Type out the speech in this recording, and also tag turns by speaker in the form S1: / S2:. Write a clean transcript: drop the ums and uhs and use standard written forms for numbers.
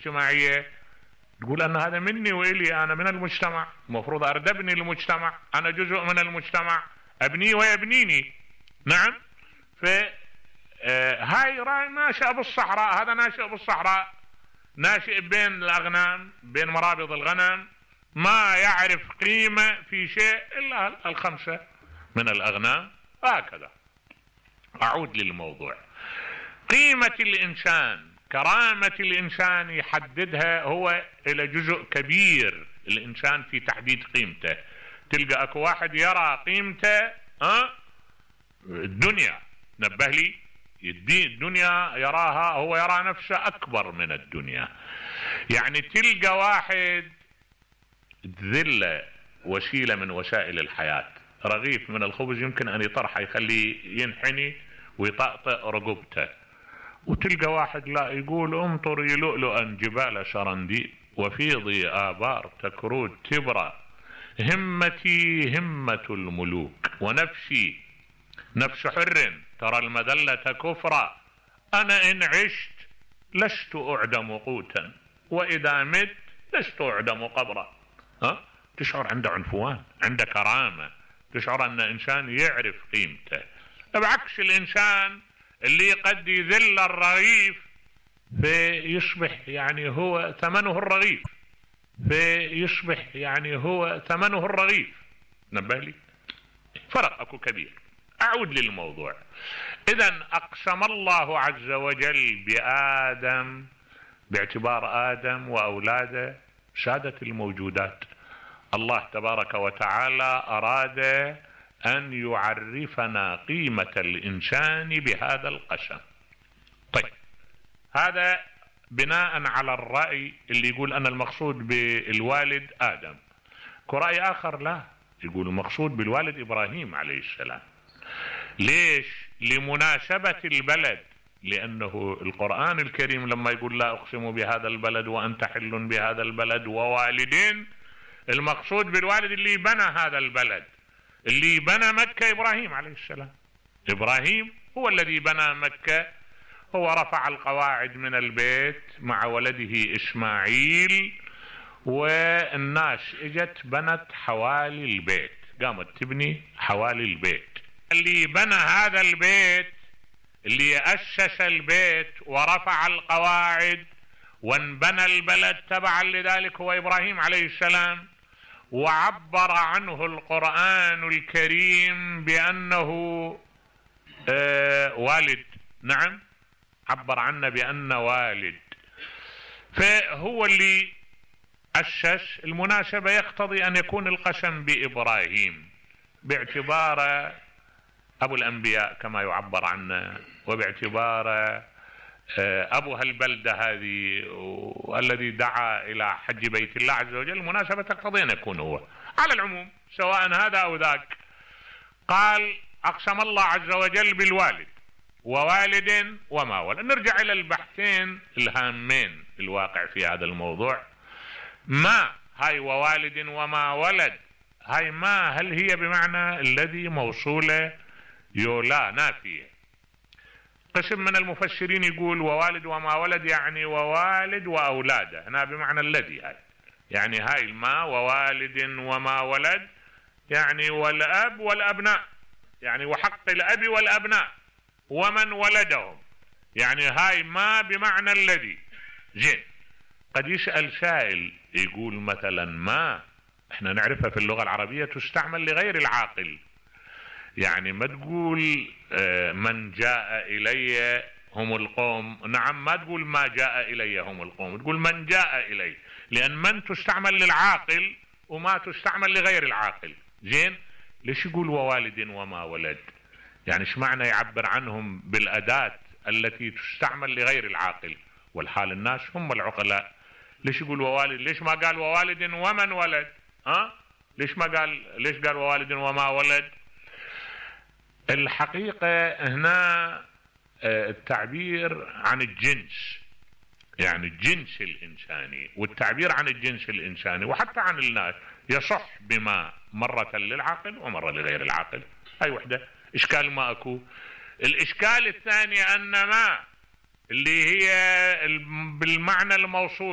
S1: الاجتماعية تقول أن هذا مني وإلي، أنا من المجتمع، المفروض أردبني المجتمع، أنا جزء من المجتمع، أبني ويبنيني. نعم. هاي راي ناشئ بالصحراء، هذا ناشئ بالصحراء، ناشئ بين الأغنام، بين مرابض الغنم، ما يعرف قيمة في شيء إلا الخمسة من الأغنام. هكذا. أعود للموضوع. قيمة الإنسان، كرامة الإنسان يحددها هو إلى جزء كبير الإنسان في تحديد قيمته. تلقى أكو واحد يرى قيمته الدنيا، نبه لي، الدنيا يراها، هو يرى نفسه أكبر من الدنيا. يعني تلقى واحد ذلة وسيلة من وسائل الحياة، رغيف من الخبز يمكن أن يطرحه يخليه ينحني ويطأطئ رقبته، وتلقى واحد لا يقول امطري لؤلؤا جبال سرنديب وفيضي آبار تكرود تبرى، همتي همة الملوك ونفسي نفس حر ترى المذلة كفرا، أنا إن عشت لست أعدم قوتا وإذا مت لست أعدم قبرا. تشعر عنده عنفوان، عنده كرامة، تشعر أن إنسان يعرف قيمته. بعكس الإنسان اللي قد يذل الرغيف فيصبح يعني هو ثمنه الرغيف، فيصبح يعني هو ثمنه الرغيف. نبه لي، فرق أكو كبير. أعود للموضوع. إذن أقسم الله عز وجل بآدم باعتبار آدم وأولاده سادة الموجودات. الله تبارك وتعالى أراد أن يعرفنا قيمة الإنسان بهذا القسم. طيب، هذا بناء على الرأي اللي يقول أن المقصود بالوالد آدم. كرأي آخر لا، يقول المقصود بالوالد إبراهيم عليه السلام. ليش؟ لمناسبة البلد، لأنه القرآن الكريم لما يقول لا أقسم بهذا البلد وأنت حل بهذا البلد ووالدين، المقصود بالوالد اللي بنى هذا البلد، اللي بنى مكة إبراهيم عليه السلام. إبراهيم هو الذي بنى مكة، هو رفع القواعد من البيت مع ولده إسماعيل، والناس اجت بنت حوالي البيت، قامت تبني حوالي البيت. اللي بنى هذا البيت، اللي أسس البيت ورفع القواعد وانبنى البلد تبعا لذلك هو إبراهيم عليه السلام. وعبر عنه القرآن الكريم بأنه والد. نعم، عبر عنه بأنه والد، فهو اللي أسس. المناسبة يقتضي أن يكون القسم بإبراهيم باعتبار أبو الأنبياء كما يعبر عنه، وباعتبار أبو هالبلدة هذه والذي دعا إلى حج بيت الله عز وجل. المناسبة تقتضي أن يكون هو. على العموم سواء هذا أو ذاك، قال أقسم الله عز وجل بالوالد ووالد وما ولد. نرجع إلى البحثين الهامين الواقع في هذا الموضوع. ما هاي ووالد وما ولد، هاي ما هل هي بمعنى الذي موصولة يولا نافية؟ قسم من المفسرين يقول ووالد وما ولد يعني ووالد وأولاده، هنا بمعنى الذي. هاي يعني هاي الما ووالد وما ولد يعني والأب والأبناء، يعني وحق الأب والأبناء ومن ولدهم، يعني هاي ما بمعنى الذي. زين، قد يسأل سائل يقول مثلا ما احنا نعرفها في اللغة العربية تستعمل لغير العاقل، يعني ما تقول من جاء إلي هم القوم، نعم، ما تقول ما جاء إلي هم القوم، تقول من جاء إلي، لأن من تستعمل للعاقل وما تستعمل لغير العاقل. زين، ليش يقول ووالد وما ولد؟ يعني ايش معنى يعبر عنهم بالأداة التي تستعمل لغير العاقل، والحال الناس هم العقلاء؟ ليش يقول ووالد؟ ليش ما قال ووالد ومن ولد؟ ليش ما قال، ليش قال ووالد وما ولد؟ الحقيقة هنا التعبير عن الجنس، يعني الجنس الإنساني، والتعبير عن الجنس الإنساني وحتى عن الناس يصح بما مرة للعاقل ومرة لغير العاقل. هاي وحدة إشكال ما أكو. الإشكال الثاني أن ما اللي هي بالمعنى الموصول